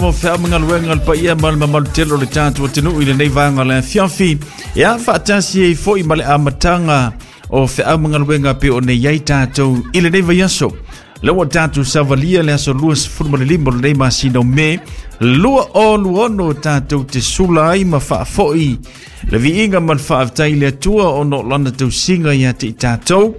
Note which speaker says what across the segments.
Speaker 1: Mo feau ma galuega a le paia ma le mamalu tele o le tatou atunuu i lenei vaega o le afiafi. Ia faatasi ai foi ma le amataga o feau ma galuega pei ona i ai tatou i lenei vaiaso. Lea ua tatou savalia le aso 25 o lenei masina o Me 2026 tatou te sula ai ma faafoi le viiga ma le faafetai i le Atua ona o lana tausiga ia te i tatou.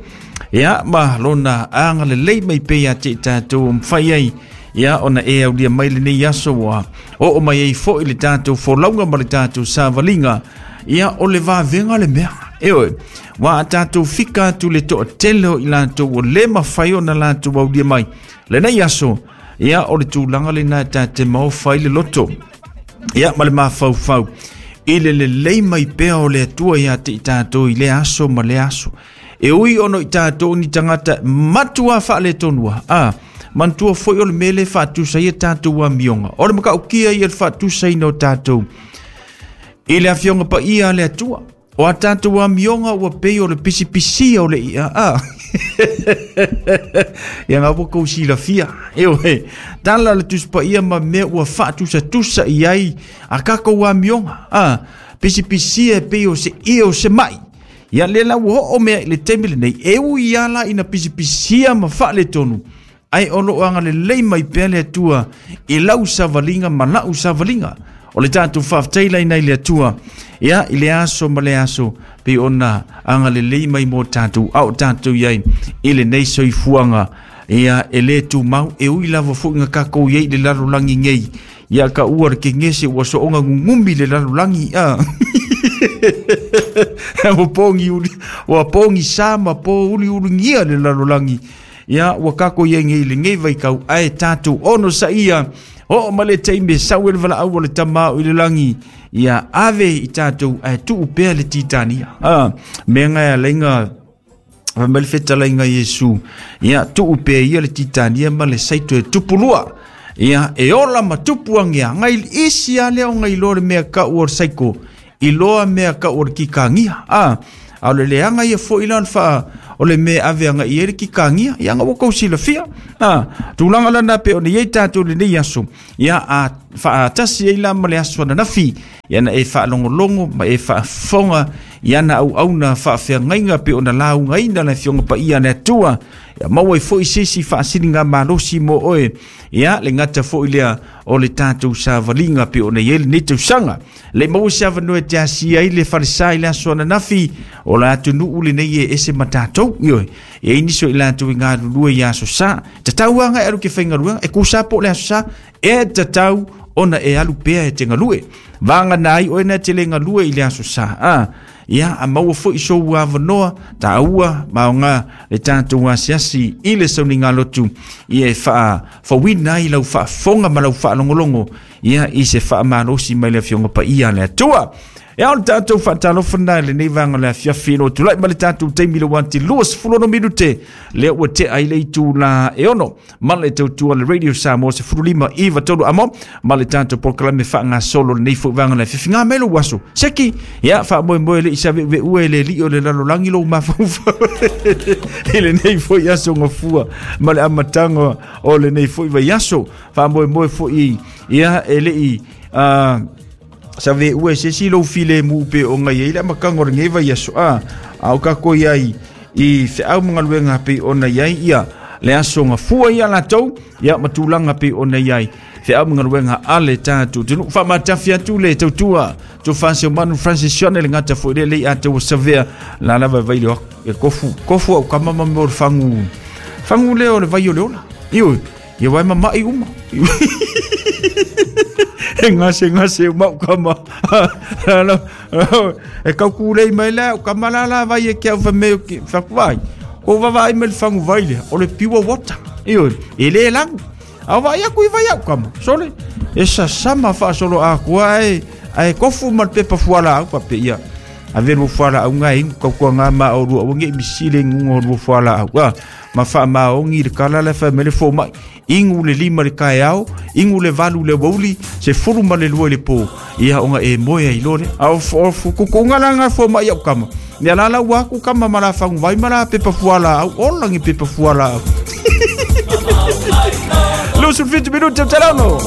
Speaker 1: Ia ma lona agalelei mai pea ia te i tatou o mafai ai ia ona e aulia mai lenei aso ua oo mai ai foi le tatou folauga ma le tatou savaliga. Ia o le vavega le mea. E oe, ua a tatou fika atu le toatele o i latou ua le mafai ona latou aulia mai lenei aso, ia o le tulaga lena e ta te maofa ai le loto. Ia ma le mafaufau i le lelei mai pea o le Atua ia te i tatou i lea aso ma lea aso. E ui ona o i tatou ni tagata matua faaletonua, a manatua foi o le mea lea e faatusa ai a tatou amioga. O le matautia ia le faatusaina o tatou i le Afioga Paia a le Atua. O a tatou amioga ua pei o le pisipisia o le ia, a. Ia ngā ua kou silafia. E oe, tala le Tusi Paia ma mea ua faatusatusa i ai a tatou amioga. A, pisipisia e pei o se ia o se mai. Ia lea la ua oo mea i le taimi lenei, e ui lava la ina pisipisia ma faaletonu, ae o lo o agalelei mai pea le Atua i lau savaliga ma la'u savaliga. O le tatou faafetai laina i le Atua, ia i le aso ma le aso, pei ona agalelei mai mo tatou, a o tatou i ai i lenei soifuaga, ia e le tumau, e ui lava foi na tatou i ai i le lalolagi nei. Ia ka ua le kegese ua soonga gugumi le lalolagi a. Ua pogi uli, ua pogi sa ma po uli uligia le lalolagi. Ia ua kako ia ngei le ngei vai kau ae tatou ono sa ia. O ma le taimi e sau e le valaau o le tama o i le lagi. Ia ave i tatou ae tuu pea le titania. A, mea ngai a leinga Fai mai le fetalaiga Iesu, ia tuu pea ia le titania ma le saito e tupu lua. Ia e ola ma tupu angea, ngai isi a lea o ngai loa le mea kau o le saiko, i loa mea kau o le kikagia. A, a o le leaga ia foi la o le faa, o le mea ave anga i ai le kikagia, ia nga ua kou silafia. A, tulaga lana pe o ni ei tātou lenei aso, ia a faatasi ai la ma le aso ananafi, ia na e faalogologo ma e faafofoga i ana auauna faafeagaiga pe ona laugaina le Afioga Paia a le Atua, ia maua ai foi se isi faasiliga malosi mo oe, ia le gata foi lea o le tatou savaliga pe ona i ai lenei tausaga. Le maua se avanoa e te asia ai le falesa i le aso ananafi, o le atunuu lenei e ese ma tatou, ioe, e ai nisi o i latou i galulue i aso sa, tatau lava e alu ke faigaluega, e kusa po o le aso sa, e tatau ona e alu pea e te galue. Vagana ai oe na te le galue i le aso sa. A, ia, a maua foi sou avanoa, taua, maoga le tatou asiasi i le sauniga lotu, ia e faafouina ai lau faafofoga ma lau faalogologo, ia i se faamalosi mai le Afioga Paia a le Atua. E ao le tatou faatalofa na i lenei vaega o le afiafi no tulai ma le tatou taimi le wanti 26 minute lea ua tea ai le itula e ono ma le tautua le Radio Samoa 15 iva tolu amo ma le tatou polokalame faagasolo lenei foi vaega o le afiafi. Ngā mai lou aso seki ia faamoemoe le i save'uve'ua e le alii o le lalolagi lou mafaufau i lenei foi aso gafua ma le amataga o lenei foi vaiaso. Faamoemoe foi ia e le i save'ua e se isi lou filemu pe o ngai ai le amataga o lenei vaiaso a a o tatou i ai i feau ma galuega pei ona i ai ia le aso gafua ia latou ia ma tulaga pei ona i ai feau ma galuega a le tatou atunuu. Faamatafi atu le tautua tofa Seumanu Francis Sione le gata foi le lei a tau savea la lava vai le e kofu kofu au kama ma mo le fangu fangu lea o le vai o le ola ioe ia wai mama'i uma e gase gase o mau kama e kaukulei mai lea o kama la la vai e ke au fa me ke fa vai ko vava ai me le fangu vai lea o le pure water ioe e le lagu a vai aku i vai au kama sole e sasama faasolo akua e ae kofu ma le pepa fuala au pape ia ave lua fuala au ngai ingu kaukua ngā ma o lua wangi misile ngunga o lua fuala au a ma faamaogi le kala le fai mai le fomai ingu le lima le kaeao ingu le valu le wauli se fulu ma le lua i le pō ia ona e moe ai loa lea a o kukuga la nga fomai au kama ia la la ua aku kama ma la faguvai ma la pepa fuala au ola ngi pepa fuala au 27 minute o te rano.